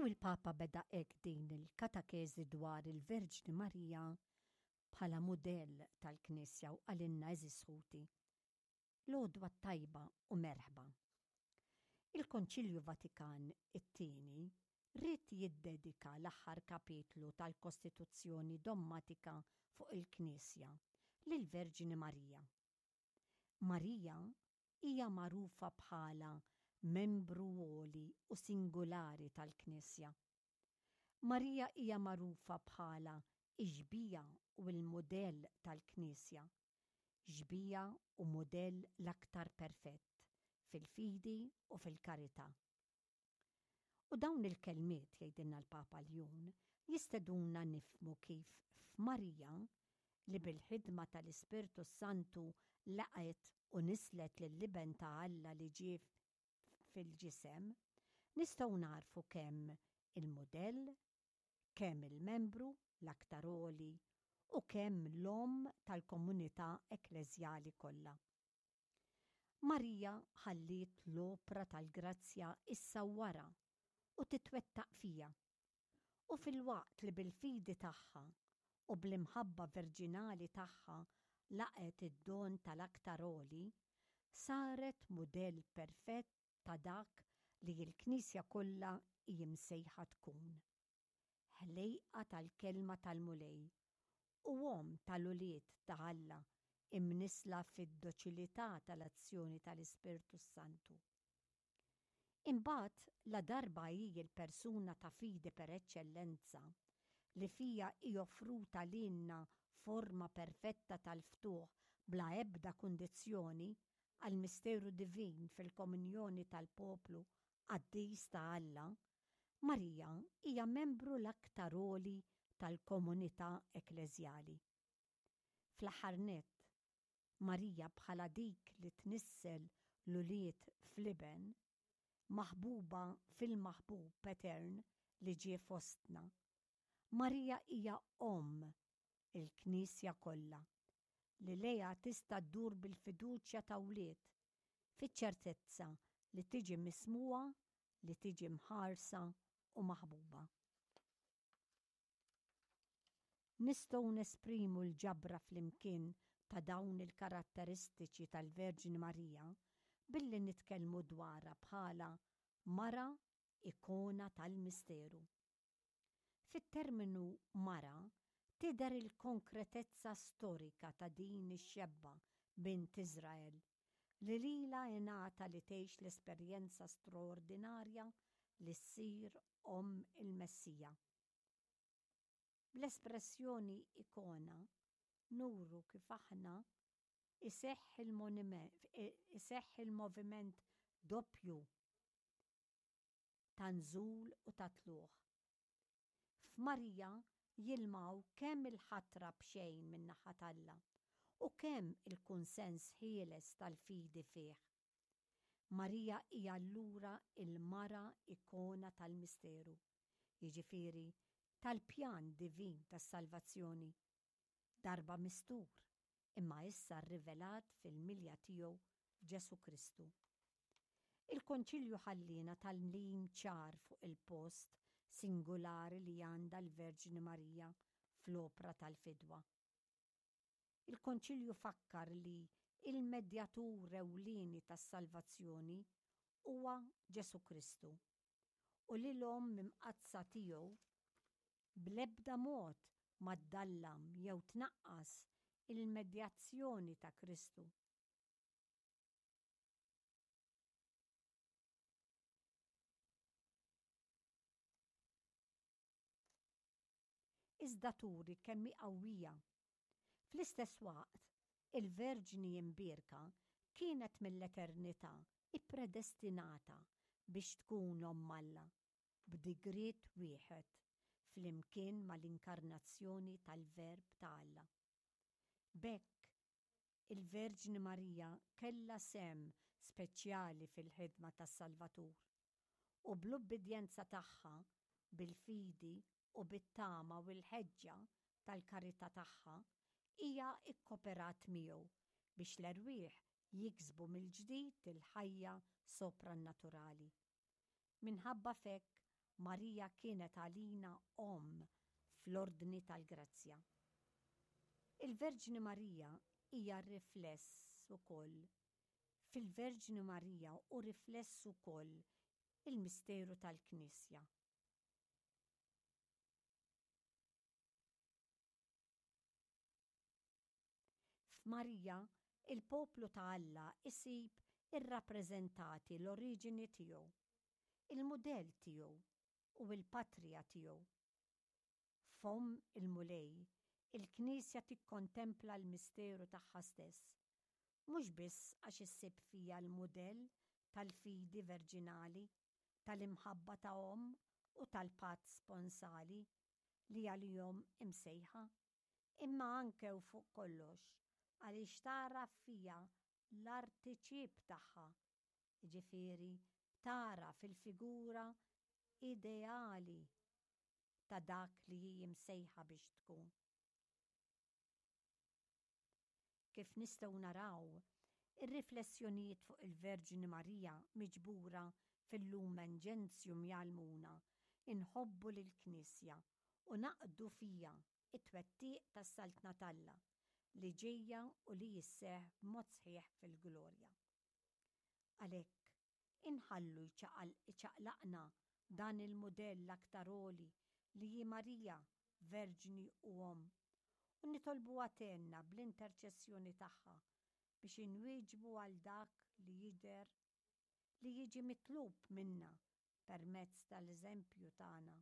U l-Papa beda hekk din il-katakeżi dwar il-Verġni Marija bħala mudell tal-Knisja u qalilna għeżież ħuti, L-għodwa t-tajba u merħba. Il-Konċilju Vatikan it-Tieni ried jiddedika l-aħħar kapitlu tal-Kostituzzjoni Dommatika fuq il-Knisja lill-Verġni Marija. Marija hija magħrufa bħala membru għoli u singulari tal-Knisja. Marija hija magħrufa bħala x-xbieha u l-mudell tal-Knisja, xbieha u mudell l-aktar perfett fil-fidi u fil-karità. U dawn il-kelmiet, jgħidilna l-Papa Ljun, jisteduna nifhmu kif f'Marija, li bil-ħidma tal-Ispirtu s-Santu laqgħet u nisslet lill-Iben ta' Alla li ġie fil-ġisem, nistgħu nagħrfu kemm il-mudell, kemm il-membru l-aktar għoli u kemm l-omm tal-komunità ekkleżjali kollha. Marija ħalliet l-opra tal-grazzja issawwarha u titwettaq fiha. U filwaqt li bil-fidi tagħha u bl-imħabba verġinali tagħha laqgħet id-don tal-Aktar Għoli, saret mudell perfett ta' dak li l-Knisja kollha hi msejħa tkun. ħlejqa tal-Kelma tal-Mulej u Omm tal-ulied ta' Alla imnissla fid-doċilità tal-azzjoni tal-Ispirtu s-Santu. Imbagħad, ladarba hi l-persuna ta' fidi per eċċellenza, li fiha hi offruta lilna forma perfetta tal-ftuħ bla ebda kundizzjoni għall-misteru divin fil-komunjoni tal-poplu qaddis ta' Alla, Marija hija membru l-aktar għoli tal-komunità ekkleżjali. Fl-aħħar nett, Marija bħala dik li tnissel l-ulied fl-Iben, maħbuba fil-Maħbub etern li ġie fostna, Marija hija Omm il-Knisja kollha, li lejha tista' ddur bil-fiduċja ta' wlied, fiċ-ċertezza li tiġi mismugħa, li tiġi mħarsa u maħbuba. Nistgħu nesprimu l-ġabra flimkien ta' dawn il-karatteristiċi tal-Verġni Marija billi nitkellmu dwarha bħala mara ikona tal-misteru. Fit-terminu mara tidher il-konkretezza storika ta' din ix-xebba bint Iżrael li lilha ingħata li tgħix l-esperjenza straordinarja li ssir omm il-Messija. Bl-espressjoni ikona nuru kif aħna iseħħ il-moviment doppju ta' nżul u ta' tlugħ. F'Marija jilmaw kemm il-ħatra b'xejn min-naħa t'Alla u kemm il-kunsens ħieles tal-fidi fih. Marija hija allura l-mara ikona tal-misteru, jiġifieri tal-pjan divin tas-salvazzjoni. darba mistur, imma issa rrivelat fil-milja tiegħu f'Ġesù Kristu. Il-Konċilju ħalliena tagħlim ċar fuq il-post singulari li għandha l-Verġni Marija fl-opra tal-fidwa. Il-Konċilju fakkar li l-medjatur ewlieni tas-salvazzjoni huwa Ġesù Kristu u li l-Omm Imqaddsa tiegħu bl-ebda mod ma ddallam jew tnaqqas il-medjazzjoni ta' Kristu. Iżda turi kemm hi qawwija. Fl-istess waqt, il-Verġni Imbierka kienet mill-eternità ppredestinata biex tkun Omm Alla, b'digriet wieħed flimkien mal-Inkarnazzjoni tal-Verb ta' Alla. B'hekk, il-Verġni Marija kellha sehem speċjali fil-ħidma tas-Salvatur, u bl-ubbidjenza tagħha, bil-fidi u bit-tama u l-ħeġġa tal-karità tagħha, hija kkoperat miegħu biex l-erwieħ jiksbu mill-ġdid il-ħajja soprannaturali. Minħabba f'hekk, Marija kienet għalina Omm fl-ordni tal-grazzja. Il-Verġni Marija hija rifless ukoll Fil-Verġni Marija hu rifless ukoll il-misteru tal-Knisja. F'Marija, il-poplu ta' Alla jsib irrappreżentati l-oriġini tiegħu, il-mudell tiegħu u l-patrija tiegħu. F'Omm il-Mulej, il-Knisja tikkontempla l-misteru tagħha stess, mhux biss għax issib fiha l-mudell tal-fidi verġinali, tal-imħabba ta' omm u tal-patt sponsali li għalihom imsejħa, imma anke u fuq kollox għaliex tagħraf fiha l-artiċiep tagħha, jiġifieri tagħraf il-figura ideali ta' dak li hi msejħa biex tkun. Kif nistgħu naraw, ir-riflessjonijiet fuq il-Verġni Marija miġbura fil-Lumen Gentium jgħallmuna nħobbu lill-Knisja u naqdu fiha t-twettiq tas-Saltna t'Alla li ġejja u li jisseħħ b'mod sħiħ fil-glorja. Għalhekk, inħallu jċaqlaqna dan il-mudell l-aktar għoli li hi Marija, Verġni u Omm, u nitolbuha tgħinna bl-interċessjoni tagħha biex inwieġbu għal dak li jidher li jiġi mitlub minna permezz tal-eżempju tagħna.